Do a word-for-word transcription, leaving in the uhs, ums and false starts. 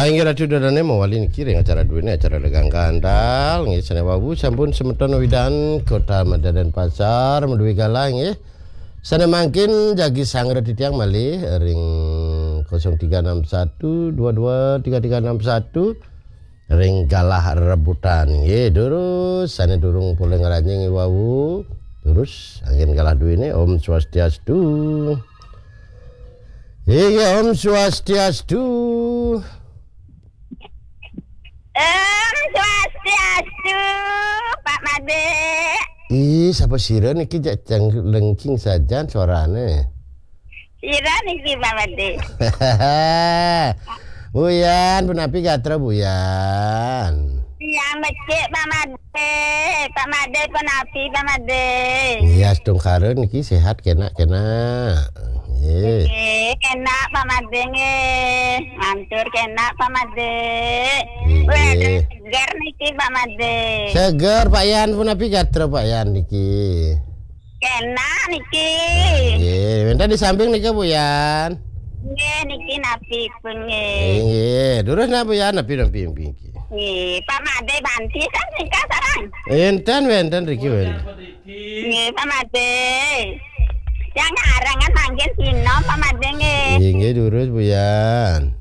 Inggih Ratu Dadane mawali niki ring acara duene, acara Legang Gandal nggih. Sane wau sampun semeton Widan Kota Mada Denpasar maduwe galah nggih. Sane mangkin jagi sangra titiang malih ring kosong tiga enam satu dua dua tiga tiga enam satu ring galah rebutan nggih. Durus sane durung polih ngranjing nggih wau. Durus anggen galah duene. Om Swastiastu. Inggih, Om Swastiastu. Om Swastiastu, Pak Made. Ih, sapa sira niki jak cang lengking sajan suarane? Sira niki, Pak Made. Buyan, punapi gatra Buyan? Tiang becik, Pak Made. Pak Made punapi, Pak Made? Iya, astungkara niki sehat kenak-kenak. Nggih. Nggih, kenak Pak Made nggih. Mantur kenak Pak Made. Nggih. Weh, seger niki Pak Made. Seger Pak Yan, punapi gatra Pak Yan niki? Kenak niki. Nggih, wenten di samping nika Bu Yan. Nggih, niki napi pun nggih. Nggih, durus nah Bu Yan, napi napi niki. Nggih, Pak Made banti kan nika sarang. Enten wenten riki wenten. Nggih, Pak Made. Yang arangan mangkin Sino, Pak Made nggih. Nggih, nggih, durus Bu Yan.